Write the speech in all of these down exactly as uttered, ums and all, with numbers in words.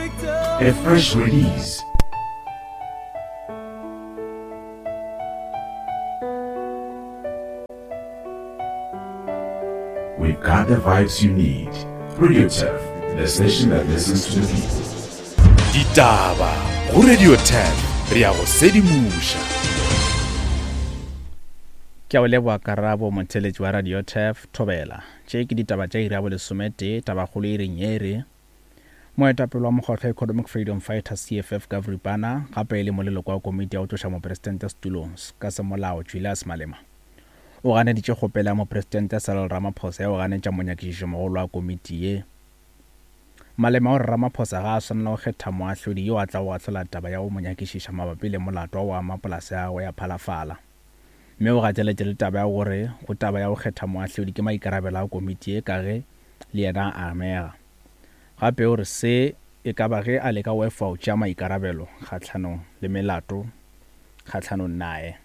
A fresh release. We've got the vibes you need. Radio Turf, the station that listens to the people. Ditaba go Radio Turf, re ya go sedimoša. Ke a o leboa karabo motheletši wa Radio Turf Thobela. Tše ke ditaba tša iri ya bolesometee, tabakgolo e reng e re moetapele wa mokgatlo Economic Freedom Fighters C F F Gav Ripana gape e le moleloko wa komiti ya go tloša mopresidente setulong ka semolao Julius Malema o ganeditše kgopelo ya mopresidente Cyril Ramaphosa ya go ganetša monyakišišo mogolo wa komiti ye. Malema o re Ramaphosa ga a swanela go kgetha moahlodi yo a tla go ahlola taba ya go mo nyakišiša mabapi le molato wa go ama polase ya gagwe ya Phalafala. Mme o gateletše le taba ya gore go taba ya go kgetha moahlodi ke maikarabelo a komiti ye ka ge le yena a amega. Gape o re se e ka ba ge a leka go efa go tšea maikarabelo kgahlanong le melato kgahlanong naye.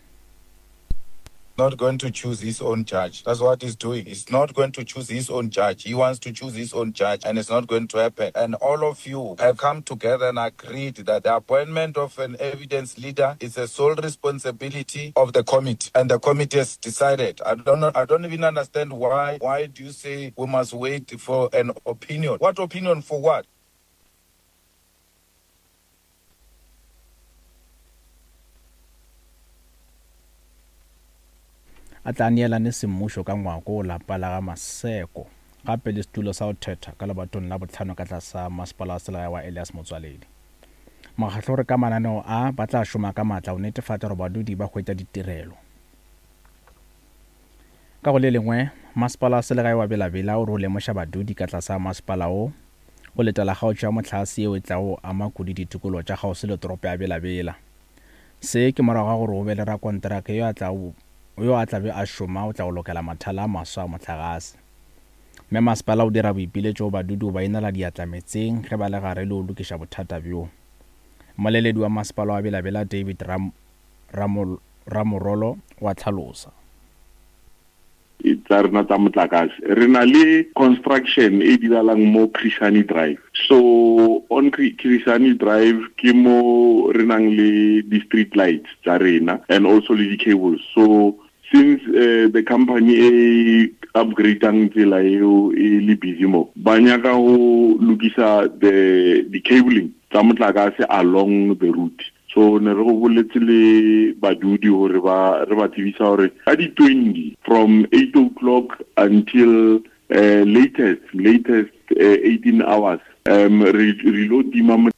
Not going to choose his own judge. That's what he's doing. He's not going to choose his own judge. He wants to choose his own judge, and it's not going to happen. And all of you have come together and agreed that the appointment of an evidence leader is a sole responsibility of the committee. And the committee has decided. I don't know, I don't even understand why. Why do you say we must wait for an opinion? What opinion for what? A tla neelane semmušo ka ngwako lapa la ga Maseko gape le setulo sa go thetha ka lebatong la botlhano ka tlasa masepala wa selegae wa Elias Motswaledi. Mokgatlo o re ka mananeo a ba tla šoma ka maatla go netefatša gore badudi ba hwetša ditirelo. Ka go le lengwe, masepala wa selegae wa Bela-Bela o re o lemoša badudi ka tlasa masepala o go letela kgaotšo ya mohlagase yeo e tlago ama kudu ditikologo tša kgauswi le toropo ya Bela-Bela. Se ke morago ga gore o be le rakonteraka yo a tlago yo a tlabe a šoma o tla go lokela mathala a maswa a mohlagase. Mme masepala o dira boipiletšo go badudi go ba inela diatla metseng ge ba le gare le go lokiša bothata bjo. Mmoleledi wa masepala wa Bela-Bela David Ram, Ramol, Ramorolo wa tlhalosa. Tsa rena tsa motlakase re na le construction e diralang mo Krishani Drive. So on Krishani Drive ke mo re nang le di-street lights tsa rena and also le di-cables. So since uh, the company e upgradang tsela eo e le busy mo, ba nyaka go lokisa the di-cabling tsa motlakase along the route. So ne re go boletse le badudi hore ba re ba tsebisa hore ka di twenty from eight o'clock until uh, latest latest uh, eighteen hours um re re lo tima.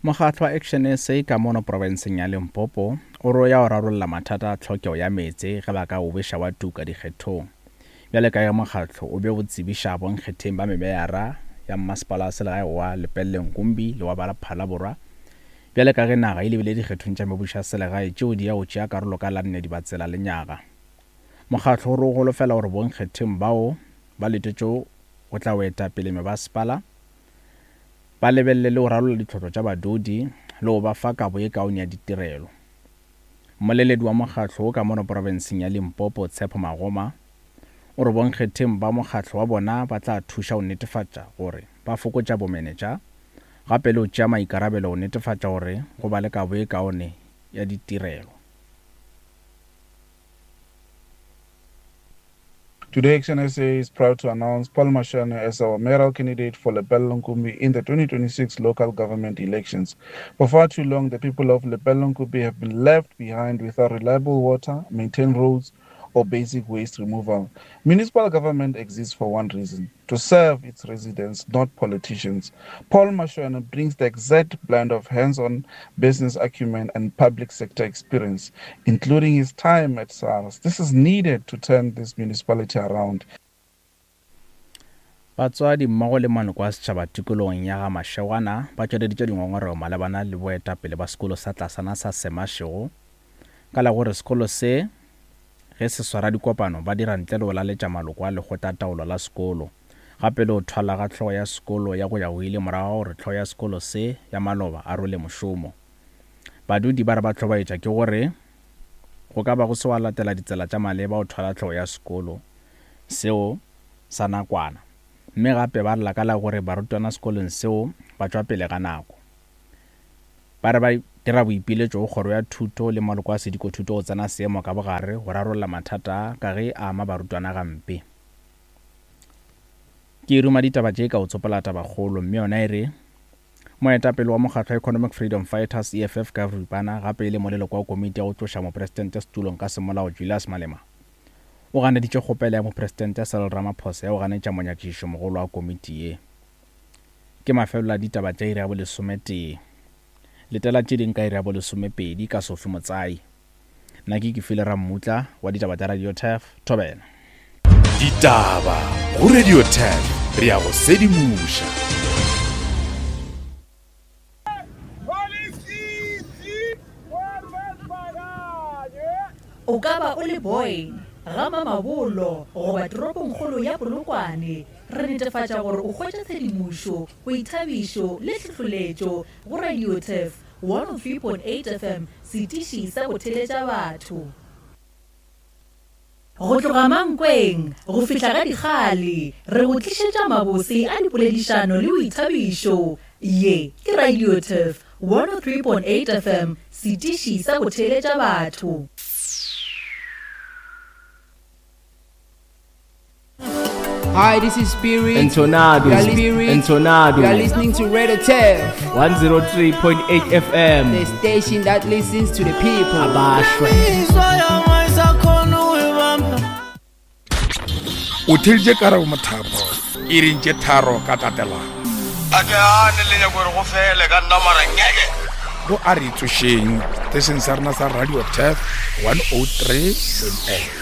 Mokgatlo wa Action S A ka mono profenseng ya Limpopo o re o ya go rarolla mathata a tlhokego ya meetse ge ba ka o beša wa tuka dikgethong. Bjale ka ge mokgatlo o be o tsebiša bonkgetheng ba mebeyara ya mmasepala wa selegae wa Lepelle Nkumbi le wa Phala Borwa bjale ka ge naga e lebile dikgethong tša mebušo ya selegae tšeo di ya go tšea karolo ka la nne Dibatsela le nyaga. Mokgatlo o re o holofela gore bonkgetheng bao ba letetšego go tla go eta pele mebasepala ba lebelele le go rarolla ditlhotlo tša badudi le go ba fa kabo ye kaone ya ditirelo. Mmoleledi wa mokgatlo o ka mono profenseng ya Limpopo Tshepo Magoma o re bonkgetheng ba mokgatlo wa bona ba tla thuša go netefatša gore ba fokotša bomenetša gape le go tšea maikarabelo go netefatša gore go ba le kabo ye kaone ya ditirelo. Today, Action S A is proud to announce Paul Mashiane as our mayoral candidate for Lepelle Nkumbi in the twenty twenty-six local government elections. For far too long, the people of Lepelle Nkumbi have been left behind without reliable water, maintained roads, or basic waste removal. Municipal government exists for one reason: to serve its residents, not politicians. Paul Mashiane brings the exact blend of hands-on business acumen and public sector experience, including his time at SARS. This is needed to turn this municipality around. Batswadi mmogo le maloko a setšhaba tikologong ya ga Mashegwana ba tšweleditše dingongorego malebana le boetapele ba sekolo sa tlasana sa Semashego ka la gore sekolo se ge se swara dikopano ba dira ntle le go laletša maloko a lekgotlataolo la sekolo gape le go thwala ga hlogo ya sekolo ya go ya go ile morago gore hlogo ya sekolo se ya maloba a role mošomo. Badudi ba re ba hlobaetša ke gore go ka ba go se wa latela ditsela tša maleba go thwala hlogo ya sekolo seo sa nakwana. Mme gape ba lla ka la gore barutwana sekolong seo ba tšwa pele ga nako. Ba re ba dira boipiletšo go kgoro ya thuto le maloko a sedikothuto go tsena seemo ka bogare go rarolla mathata ka ge a ama barutwana gampe. Ke ruma ditaba tše ka o tsopola tabakgolo mme yona e re moetapele wa mokgatlo wa Economic Freedom Fighters E F F ka boripana gape e le moleloko wa komiti ya go tloša mopresidente setulong ka semolao Julius Malema o ganeditše kgopelo ya mopresidente Cyril Ramaphosa ya go ganetša monyakišišo mogolo wa komiti ye. Ke mafelelo a ditaba tša iri ya bolesometee. Letela tše ding ka iri ya bolesomepedi ka Sophie Motsai. Nna ke Kefile Rammutla wa ditaba tša Radio Turf, Thobela. Ditaba go Radio Turf, re ya go sedimoša. O ka ba o le Boyne, ga Mamabolo goba toropongkgolo ya Polokwane, re netefatša gore o hwetša tshedimošo, boithabišo le tlhohleletšo go Radio Turf one oh three point eight F M, setiši sa go theletša batho. Go tloga Mankweng go fihla ga Dikgale, re go tlišetša mabose a dipoledišano le boithabišo. Ye ke Radio Turf one oh three point eight F M, setiši sa go theletša batho. Hi, this is Spirit. And Tornado. You are Spirit. And Tornado. You are listening to Radio Turf one oh three point eight F M, the station that listens to the people. Abashwe. O theleditše karabo Mothapo e reng tše tharo ka tatelano. A ke ane le nyako gore go fele ka nna mara ngeke. Go a re tsošeng station sa rena sa Radio Turf one oh three point eight.